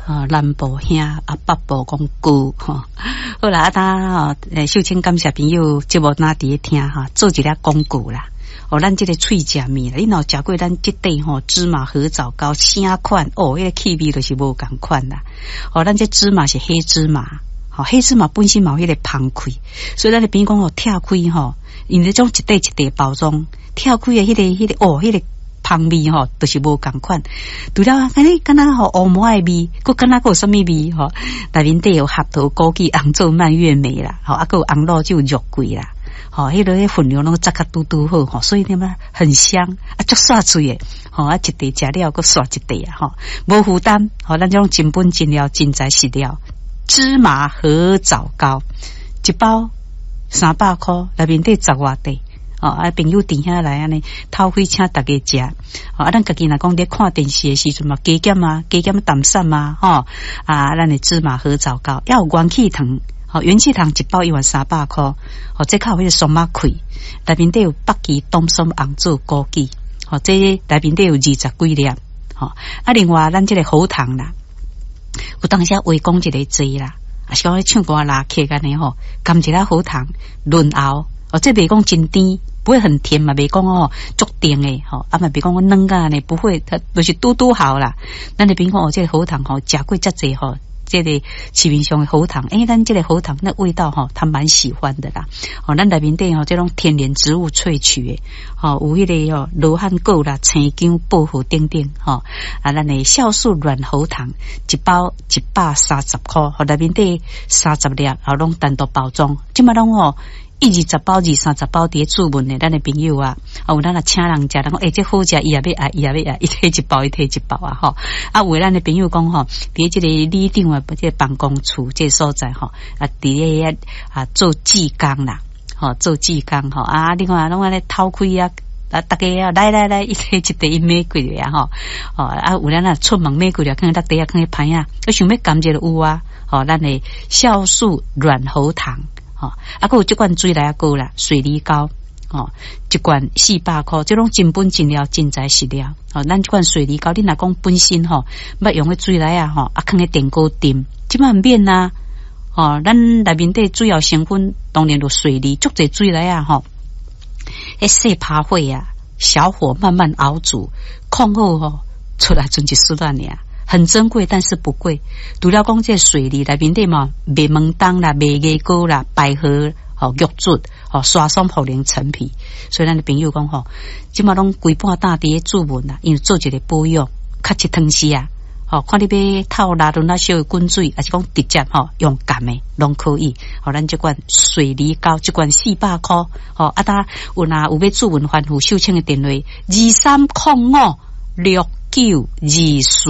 啊，南部兄啊，北部講糕吼。好啦，啊，當吼，秀清感謝朋友節目若佇咧聽哈，做一個廣告啦。哦，咱這個喙食物啦，你若有食過咱這塊吼芝麻荷棗糕，啥款哦，彼個氣味就是無仝款啦。哦，咱這芝麻是黑芝麻，吼，黑芝麻本身嘛有彼個芳氣，所以咱的朋友講吼，拆開吼，因為這種一塊一塊包裝，拆開的彼個哦，彼個芳味吼，就是無仝款。除了按呢，敢若吼烏毛的味，閣敢若閣有啥物味吼？內面底有合桃、枸杞、紅棗、蔓越莓啦，吼，啊，閣有紅露酒、肉桂啦。吼，彼個分量攏抓較拄拄好吼，所以點啊很香啊，足煞喙的吼，啊，一塊食了閣煞一塊啊，吼，無負擔，吼，咱這種真本真料、真材實料，芝麻荷棗糕一包300箍，內面底十外塊。哦，啊，朋友佇遐來按呢，透氣請逐家食。哦，啊，咱家己若講佇看電視的時陣嘛，加減啊，加減淡散啊，吼，啊，咱的芝麻荷棗糕，猶有元氣糖。吼，元氣糖一包一萬300箍，吼，這較有彼個松仔氣，內面底有北芪、冬筍、紅棗、枸杞，吼，這內面底有20幾粒，吼，啊，另外咱這個喉糖啦，有當時話講一個濟啦，啊是講咧唱歌拉客按呢吼，含一粒喉糖潤喉，哦，這袂講真甜，不會很甜嘛，袂講哦足甜的吼，啊嘛袂講軟甲按呢，不會，它就是拄拄好啦。咱的朋友講哦，這個喉糖吼，食過遮濟吼。這個市面上的喉糖，欸，咱這個喉糖那味道吼，他蠻喜歡的啦。哦，咱內面底吼，這種天然植物萃取的，吼，有彼個吼羅漢果啦、生薑、薄荷等等，吼啊，咱的酵素軟喉糖一包130箍，吼，內面底30粒，吼，攏單獨包裝，這馬攏吼。一二十包、二三十包佇咧注文的，咱的朋友啊，啊有咱若請人食，人講欸，這好食，伊也欲愛，伊也欲愛，伊提一包，伊提一包啊，吼！啊，有的咱的朋友講吼，佇這個里長啊，這個辦公處這個所在吼，啊，佇咧遐啊做志工啦，吼，做志工吼，啊，你看攏按呢透開啊，啊，逐家啊，來來來，伊提一袋伊買過來啊，吼，哦，啊，有咱若出門買過來，囥佇袋仔，囥佇歹仔，啊，想欲含一下有啊，吼，咱的酵素軟喉糖。吼，啊，閣有這罐水來仔糕啦，水梨糕，吼，一罐400箍，這攏真本真料，真材實料。吼，咱這罐水梨糕，你若講本身吼，捌用彼水梨仔吼，啊，囥佇電鍋炖，這馬毋免啊。吼，咱內面底主要成分當然就水梨，足濟水梨仔吼，彼細趴火啊，小火慢慢熬煮，控好吼，出來賰一絲仔爾。很珍貴，但是不貴。除了講這水梨內面底嘛，麥門冬啦、麥芽膏啦、百合、吼玉竹、吼沙松、茯苓、陳皮。所以咱的朋友講吼，這馬攏規半擔佇咧注文啦，因為做一個保養，較一湯匙啊。吼，看你欲透熱潤啊，燒滾水，抑是講直接吼用含的攏可以。吼，咱這罐水梨糕，這罐400箍。吼，啊，呾有若有欲注文吩咐秀清的電話：23056924。